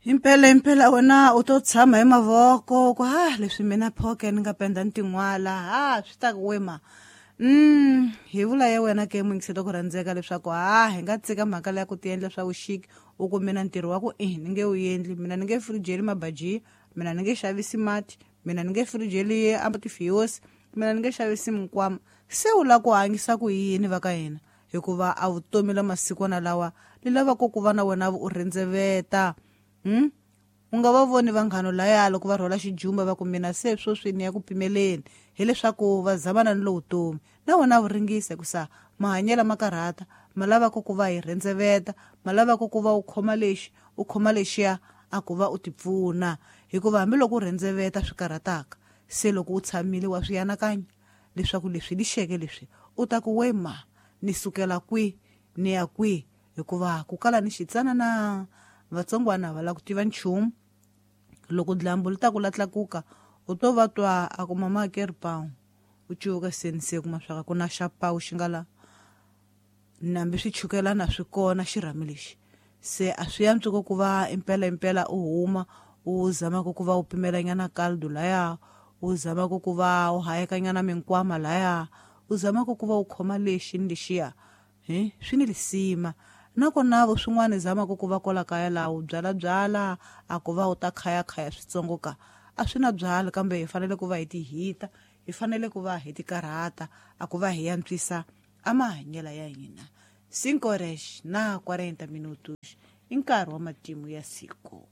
Impela impela wena u to tshama hi mavoko ku ha leswi mina phoke ni nga penda ni tin'wala ha swi ta ku wema. Hi vula ya wena ke muyingiseli ku rhandzeka leswaku ha hi nga tshika mhaka leya ku tiendla swa vuxiki u ku mina ntirho wa ku i ni nge wu endli, mina ni nge firijeli mabajiya, mina ni nge xavisi mati, mina ni nge firijeli a tifiyosi, mina ni nge xavisi minkwama. Se u lava ku hanyisa ku yini va ka hina? Hikuva a vutomi la masikwana lawa li lavaka ku va na wena u rhendzeveta. U nga va voni vanghano laya loko va rhwala xijumba va ku mina se sweswi ni ya ku pimeleni, hileswaku va zamana ni lowu vutomi. Na wena wu ringisa hikusa mahanyelo ma karhata, ma lavaka ku va hi rhendzeveta, ma lavaka ku va u khoma lexi u khoma lexiya a ku va u tipfuna. Hikuva hambiloko u rhendzeveta swi karhataka, se loko u tshamile wa swi anakanya leswaku leswi lixeke leswi u ta ku wema ni sukela kwi ni ya kwi, hikuva ku kala ni xitsanana vatsongwana va lava ku tiva nchumu. Loko dlambu li ta ku la tlakuka u to va twa a ku mama ke ri pawu, u cuvuka seni se kuma swa ku na xa pawu xi nga la nambi swi chukelana swi kona xirhami lexi. Se a swi antswi ku va impela impela u huma u zamaka ku va u pimelanyana caldo laya, u zamaka ku va u hayekanyana minkwama laya, u zamaka ku va u khoma lexi ni lexiya. Swi ni lisima. Nakona vo swin'wana zamaka ku va kwala kaya laha u byalabyala a ku va u ta khayakhaya switsongo ka a swi na byala, kambe hi fanele ku va hi tihita, hi fanele ku va hi tikarhata a ku va hi antswisa a mahanyelo ya hina. 5 horas na 40 minutos i nkarhi wa matimu ya siku.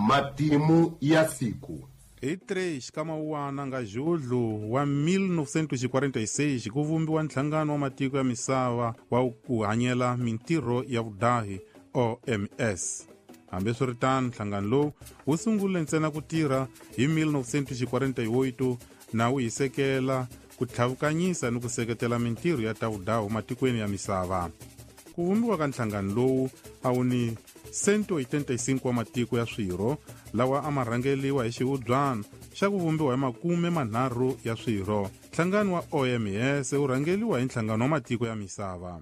Matimu ya siku. Hi 3 ka Mawuwana nga Julho wa 1946 ku vumbiwa nhlangano wa matiko ya misava wa ku hanyela mintirho ya vudahi OMS. Hambiswiritano, nhlangano lowu wu sungule ntsena ku tirha hi 1948 na wu hisekela ku tlhavukanyisa ni ku seketela mintirho ya ta vudahu matikweni ya misava. Ku vumbiwa ka nhlangano lowu a wu ni 185 wa matiko ya swirho lawa a ma rhangeliwa hi xihubyana xa ku vumbiwa hi 30 ya swirho. Nhlangano wa OMS wu rhangeliwa hi nhlangano wa matiko ya misava.